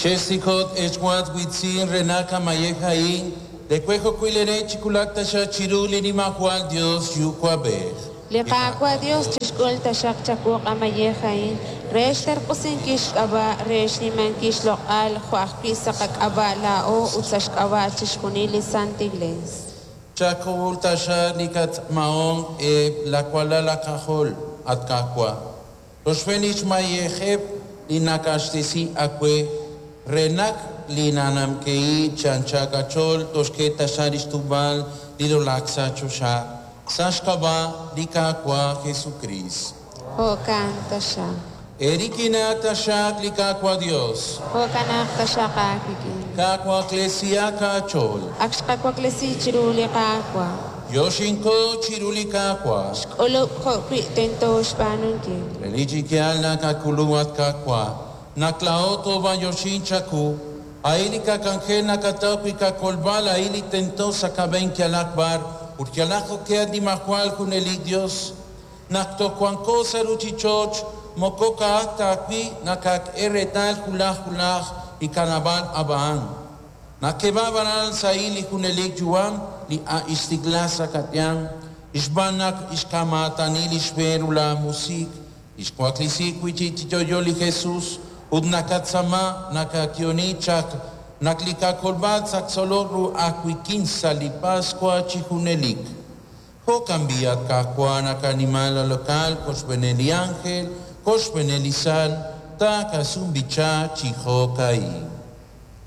Chesikot echwat witzin renaka mayejain, de cuejo cuilere chikulak tasha chiruli ni mahual Dios yucuabej. Li Qaawa' Dios chixk'ul taxaq chawu q'amayej a'in re xterq'usinkil xk'ab'a' re xnimankil xloq'al jo' ajwi' sa' qak'ab'a' laa'o ut sa' xk'ab'a' chixjunil li Santa Iglesia. Chakul tasha likat maon e la kuala la kajol at kakwa. Los fenich mayejeb li nakashtesi akwe renak li nanamkei chanchakachol toshke tasha ishtubal li dolaksa chosha. Sashkaba likakwa Jesucristo. Jo'kan taxaq. Erikina tashak likakwa Dios. Jo'kanaq taxaq aawik'in. Kakwa Ecclesia kachol. Ak xqawaklesi chiru li Qaawa'. Yoshinko chirulikakwa. Xk'ulub' jo'wi' tento xb'aanunkil. Religikial nakakuluat kakwa. Naklaoto ba yoshinchaku. Aili kakangel nakatawi kakolbal aili tento sakaben kialakbar. Urkialako kea dimahual junelik Dios. Naktokuanko saruchichoch. Mokoka aktakwi nakak eretal hulaj hulaj ikanabal abaan. Nakebabaral saili junelik yuam li a istiglasa katian. Ishbanak ishkamatani lishberula musik. Ishkuaklisik wichichitoyoli Jesus. Udnakatsama nakakioni chak. Naklikakolbat saksoloru akwikinsa li Pascua chijunelik. Jokambiat kakwa nakanimala lokal koshbeneli ángel, koshbeneli sal, takasumbicha chijokai.